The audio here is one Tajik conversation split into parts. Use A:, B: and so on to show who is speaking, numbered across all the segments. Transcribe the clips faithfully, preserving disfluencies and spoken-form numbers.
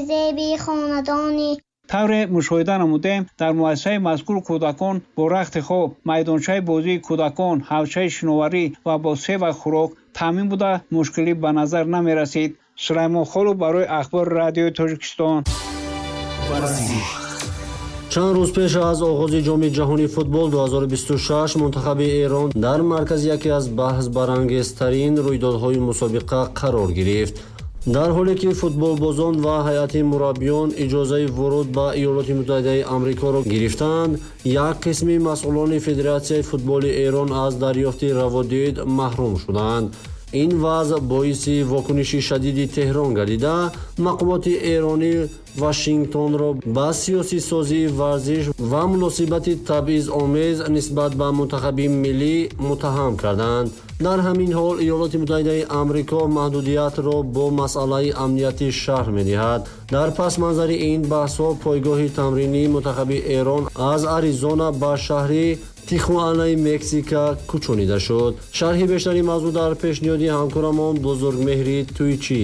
A: зеби хонадонӣ.
B: Тавре мушоҳида намудем, дар муассисаи мазкур кӯдакон бо рахти хоб, майдончаи бозии кӯдакон, ҳавзчаи шиноварӣ ва бо се вақт хӯрок таъмин буда, мушкилӣ ба назар намерасид. Сулаймон Холов барои Ахбори Радиои Тоҷикистон.
C: Чанд рӯз пеш аз оғози Ҷоми ҷаҳонии футбол ду ҳазору бисту шаш мунтахаби Эрон дар маркази яке аз баҳсбарангезтарин рӯйдодҳои мусобиқа қарор гирифт. Дар ҳоле ки футболбозон ва ҳайати мураббиён иҷозаи вуруд ба Иёлоти Муттаҳидаи Амрикоро гирифтанд, як қисми масъулони Федератсияи футболи Эрон аз дарёфти раводид маҳрум шуданд. Ин вазъ боиси вокуниши шадиди Теҳрон гардида, мақомоти эронӣ Вашингтонро ба сиёсисозии варзиш ва муносибати табъизомез нисбат ба мунтахаби миллӣ муттаҳам карданд. Дар ҳамин ҳол Иёлоти Муттаҳидаи Амрико маҳдудиятро бо масъалаи амниятӣ шарҳ медиҳад. Дар пасманзари ин баҳсҳо пойгоҳи тамринии мунтахаби Эрон аз Аризона ба шаҳри Тихуанаи Мексика кӯчонида шуд. Шарҳи бештари мавзӯъ дар пешниҳоди ҳамкорамон Бузургмеҳри Туйчӣ.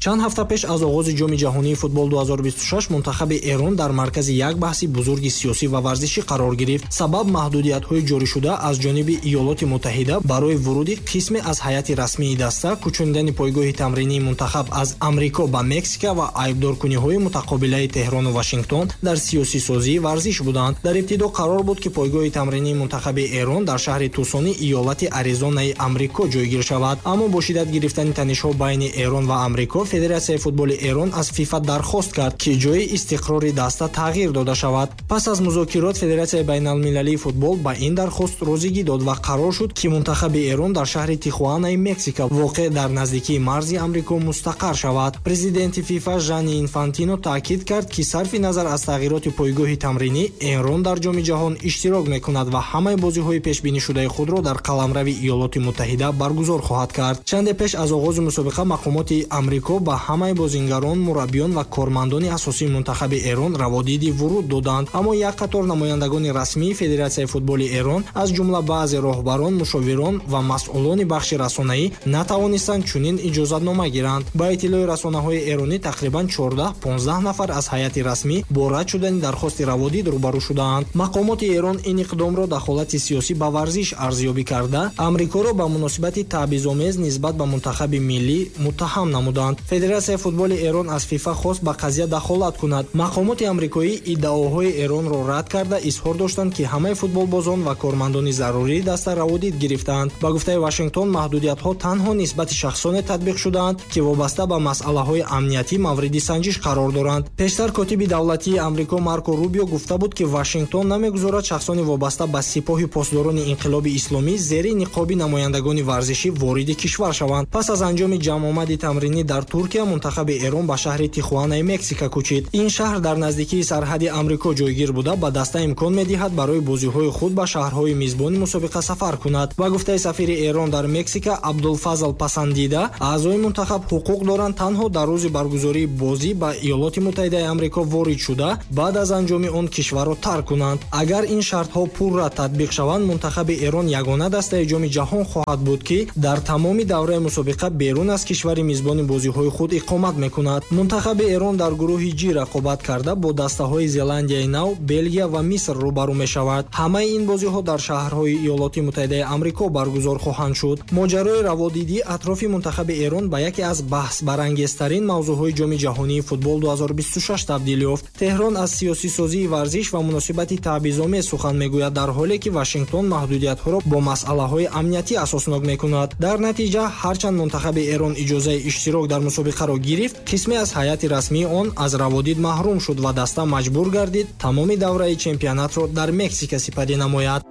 D: Чанд ҳафта пеш аз оғози Ҷоми ҷаҳонии футбол ду ҳазору бисту шаш мунтахаби Эрон дар маркази як баҳси бузурги сиёсӣ ва варзишӣ қарор гирифт. Сабаб маҳдудиятҳои ҷорӣшуда аз ҷониби Иёлоти Муттаҳида барои вуруди қисме аз ҳайати расмии даста, кӯчонидани пойгоҳи тамринии мунтахаб аз Амрико ба Мексика ва айбдоркуниҳои мутақобилаи Теҳрону Вашингтон дар сиёсисозии варзиш буданд. Дар ибтидо қарор буд, ки пойгоҳи тамринии мунтахаби Эрон дар шаҳри Тусони иёлати Аризонаи Амрико ҷойгир шавад. Аммо бо шиддат гирифтани танишҳо байни Эрон ва Амрико, Федератсияи футболи Эрон аз ФИФА дархост кард, ки ҷои истиқрори даста тағйир дода шавад. Пас аз музокирот Федератсияи байналмилалии футбол ба ин дархост розигӣ дод ва қарор шуд, ки мунтахаби Эрон дар шаҳри Тихуанаи Мексика, воқеъ дар наздикии марзи Амрико, мустақар шавад. Президенти ФИФА Жани Инфантино таъкид кард, ки сарфи назар аз тағйироти пойгоҳи тамринӣ, Эрон дар Ҷоми ҷаҳон иштирок мекунад ва ҳамаи бозиҳои пешбинишудаи худро дар қаламрави Иёлоти Муттаҳида баргузор хоҳад кард. Чанде пеш аз оғози мусобиқа мақомоти Амрико ба ҳамаи бозингарон, мураббиён ва кормандони асосии мунтахаби Эрон раводиди вуруд доданд. Аммо як қатор намояндагони расмии Федератсияи футболи Эрон, аз ҷумла баъзе роҳбарон, мушовирон ва масъулони бахши расонаӣ натавонистанд чунин иҷозатнома гиранд. Ба иттилои расонаҳои эронӣ тақрибан чордаҳ понздаҳ нафар аз ҳайати расмӣ бо рад шудани дархости раводид рӯбарӯ шудаанд. Мақомоти Эрон ин иқдомро дахолати сиёсӣ ба варзиш арзёбӣ карда, Амрикоро ба муносибати таъбизомез нисбат ба мунтахаби миллӣ муттаҳам намуданд. Федератсияи футболи Эрон аз ФИФА хост ба қазия дахолат кунад. Мақомоти амрикоӣ иддаоҳои Эронро рад карда, изҳор доштанд, ки ҳамаи футболбозон ва кормандони зарурии даста раводид гирифтаанд. Ба гуфтаи Вашингтон, маҳдудиятҳо танҳо нисбати шахсоне татбиқ шудаанд, ки вобаста ба масъалаҳои амниятӣ мавриди санҷиш қарор доранд. Пештар котиби давлатии Амрико Марко Рубио гуфта буд, ки Вашингтон намегузорад шахсони вобаста ба сипоҳи посдорони инқилоби исломӣ зери ниқоби намояндагони варзишӣ вориди кишвар шаванд. Пас аз анҷоми ҷамъомади тамринӣ дар Туркия, мунтахаби Эрон ба шаҳри Тихуанаи Мексика кӯчид. Ин шаҳр дар наздикии сарҳади Амрико ҷойгир буда, ба даста имкон медиҳад барои бозиҳои худ ба шаҳрҳои мизбони мусобиқа сафар кунад. Ба гуфтаи сафири Эрон дар Мексика Абдулфазл Пасандида, аъзои мунтахаб ҳуқуқ доранд танҳо дар рӯзи баргузории бозӣ ба Иёлоти Муттаҳидаи Амрико ворид шуда, баъд аз анҷоми он кишварро тарк кунанд. Агар ин шартҳо пурра татбиқ шаванд, мунтахаби Эрон ягона дастаи Ҷоми ҷаҳон хоҳад буд, ки дар тамоми давраи мусобиқа берун аз кишвари мизбони бозиҳои худ иқомат мекунад. Мунтахаби Эрон дар гурӯҳи Ҷи рақобат карда бо дастаҳои Зеландияи Нав, Белгия ва Миср рӯбарӯ мешавад. Ҳамаи ин бозиҳо дар шаҳрҳои Иёлоти Муттаҳидаи Амрико баргузор хоҳанд шуд. Моҷарои раводидӣ атрофи мунтахаби Эрон ба яке аз баҳсбарангезтарин мавзӯъҳои Ҷоми ҷаҳонии футбол ду ҳазору бисту шаш табдил ёфт. Теҳрон аз сиёсисозии варзиш ва муносибати таъбизомез сухан мегӯяд, дар ҳоле ки Вашингтон маҳдудиятҳоро бо масъалаҳои амниятӣ асоснок мекунад. Дар натиҷа, ҳарчанд мунтахаби Эрон иҷозаи иштирок дар мусобиқаро гирифт, қисме аз ҳайати расмии он аз раводид маҳрум шуд ва даста маҷбур гардид тамоми давраи чемпионатро дар Мексика сипарӣ намояд.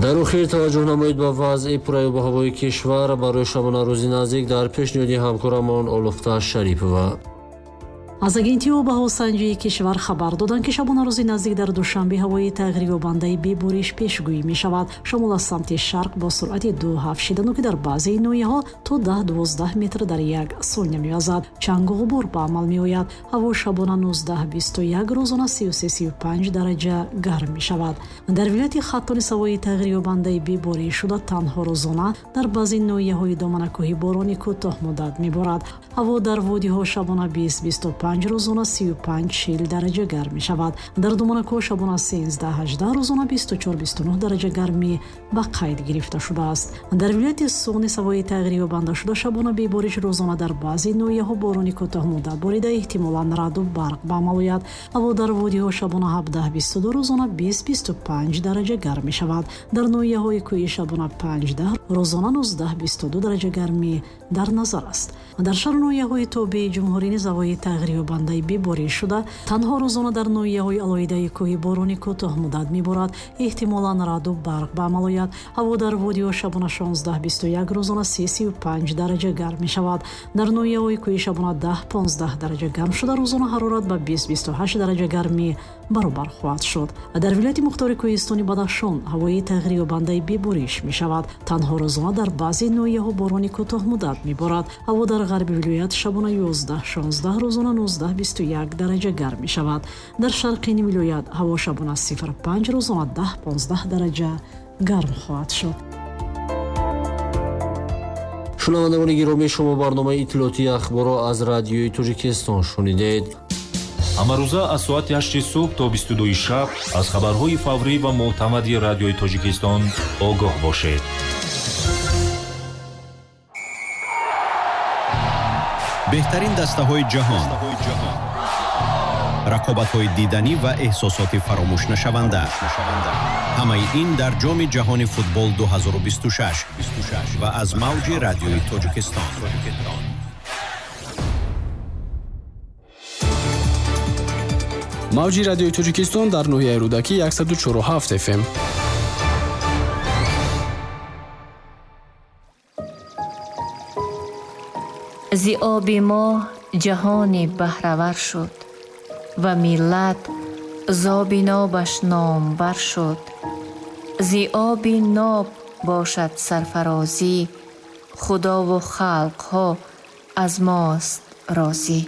C: Дар охир таваҷҷӯҳ намоед ба вазъи пурраи ҳавои кишвар барои шабонарӯзи наздик дар пешниҳоди ҳамкорамон Олуфта Шарипова.
E: Аз агентии обҳавосанҷии кишвар хабар доданд, ки шабонарӯзи наздик дар Душанбе ҳавои тағйирёбандаи бебориш пешгӯӣ мешавад. Шамол аз самти шарқ бо суръати ду ҳафт шидану ки дар баъзеи ноҳияҳо то даҳ дувоздаҳ метр дар як сония мевазад. Чангу ғубор ба амал меояд. Ҳаво шабона нуздаҳ бисту як, рӯзона сию се сию панҷ дараҷа гарм мешавад. Дар вилояти Хатлон ҳавои тағйирёбандаи бебориш шуда танҳо рӯзона дар баъзе ноҳияҳои доманакӯҳӣ борони кӯтоҳмуддат меборад. Ҳаво дар водиҳо шабона бист бисту панҷ, рӯзона сию панҷ чил дараҷа гарм мешавад. Дар доманакӯҳ шабона сенздаҳ ҳаждаҳ, рӯзона бисту чор бисту нӯҳ дараҷа гармӣ ба қайд гирифта шудааст. Дар вилояти Суғд ҳавои тағйирёбанда шуда шабона бебориш, рӯзона дар баъзе ноҳияҳо борони кӯтоҳмуддат борида эҳтимолан раъду барқ ба амал ояд. Ҳаво дар водиҳо шабона ҳабдаҳ бисту ду, рӯзона бист бисту панҷ дараҷа гарм мешавад. Дар ноҳияҳои кӯҳӣ шабона панҷдаҳ, рӯзона нуздаҳ бисту ду дараҷа гармӣ дар назар аст. Дар шаҳру ноҳияҳои тобеи ҷумҳурӣ низ ҳавои тағйирёбандаи бебориш шуда танҳо рӯзона дар ноҳияҳои алоҳидаи кӯҳӣ борони кӯтоҳмуддат меборад, эҳтимолан раъду барқ ба амал ояд. Ҳаво дар водиҳо шабона шонздаҳ бисту як, рӯзона се сию панҷ дараҷа гарм мешавад. Дар ноҳияҳои кӯҳӣ шабона даҳ понздаҳ дараҷа гарм шуда рӯзона ҳарорат ба бист бисту ҳашт дараҷа гармӣ баробар хоҳад шуд. Дар вилояти мухтори кӯҳистони Бадахшон ҳавои тағйирёбандаи бебориш мешавад. Танҳо рӯзона дар баъзе ноҳияҳо борони кӯтоҳмуддат меборад. Ҳаво дар ғарби вилоят шабона ёздаҳ шонздаҳ, рӯзона нуздаҳ бисту як дараҷа гарм мешавад. Дар шарқи вилоят ҳаво шабона сифр панҷ, рӯзона даҳ понздаҳ дараҷа гарм хоҳад шуд.
C: Шунавандагони гиромӣ, шумо барномаи иттилоотии ахборро аз радиои Тоҷикистон шунидед.
F: Ҳамарӯза аз соати ҳашти субҳ то бисту дуи шаб аз хабарҳои фаврӣ ва мӯътамади радиои Тоҷикистон огоҳ бошед.
G: Беҳтарин дастаҳои ҷаҳон, рақобатҳои диданӣ ва эҳсосоти фаромӯшнашаванда. Ҳамаи ин дар ҷоми ҷаҳони футбол ду ҳазору бисту шаш ва аз мавҷи радиои Тоҷикистон.
H: Мавҷи радиои Тоҷикистон дар ноҳияи Рӯдакӣ яксаду чору ҳафт эф эм.
I: Зи оби мо ҷаҳони баҳравар шуд ва миллат зоби нобаш номбар шуд. Зи оби ноб бошад сарфарозӣ, худову халқҳо аз мост розӣ.